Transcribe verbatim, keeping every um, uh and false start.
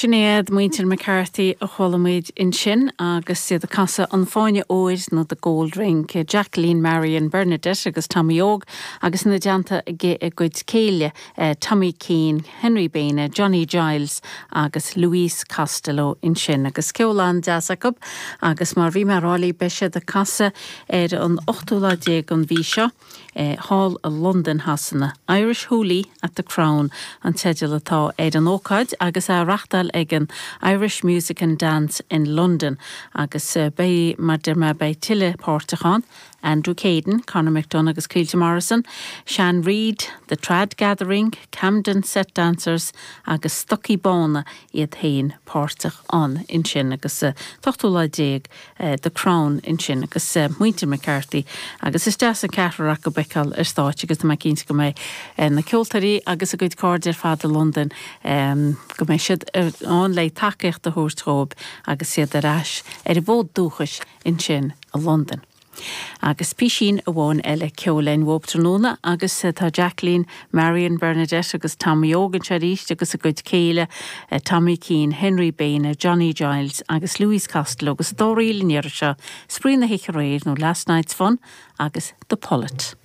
Sin iad muintir McCarthy a chuala muid ansin agus iad ag casadh an Fáinne Óir nó the Gold Ring, Jacqueline Marion Bernadette agus Tommy Óg agus ina dteannta a gcuid céile eh, Tommy Keane, Henry Baine, Johnny Giles agus Louise Costello ansin agus ceol an-deas acu agus mar bhí mé ag rá beidh siad ag casadh ar an ochtú lá déag an mhí seo. Eh, Hall i Londain Shasana. Irish Hoolie at the Crown an teideal atá ar an ócáid agus á reáchtáil ag an Irish Music and Dance in London agus uh, beidh mar deir mé beidh tuilleadh páirteach ann, Andrew Caden, Conor McDonagh agus Caoilte Morrison, Shan Reid, The Trad Gathering, Camden Set Dancers agus Stocaí Bána iad féin páirteach ann ansin agus uh, ochtú lá déag uh, The Crown ansin agus uh, muintir McCarthy agus is deas an ceathrar acu a fheiceáil ar stáitse agus tá cinnte go mbeidh uh, na ceoltóirí agus a gcuid cairde ar fad i Londain um, go mbeidh siad ann le tacaíocht a thabhairt dóibh agus iad ar ais ar a bhfód dúchais ansin i Londain. Agus písín amháin eile ceoil uaibh tráthnóna agus tá Jacqueline, Marion Bernadette agus Tommy Óg anseo arís agus a gcuid céile, Tommy Keane, Henry Baine, Johnny Giles agus Louise Costello agus dóíl seo spraoi na hoíche aréir nó Last Night's Fun agus The Pullet.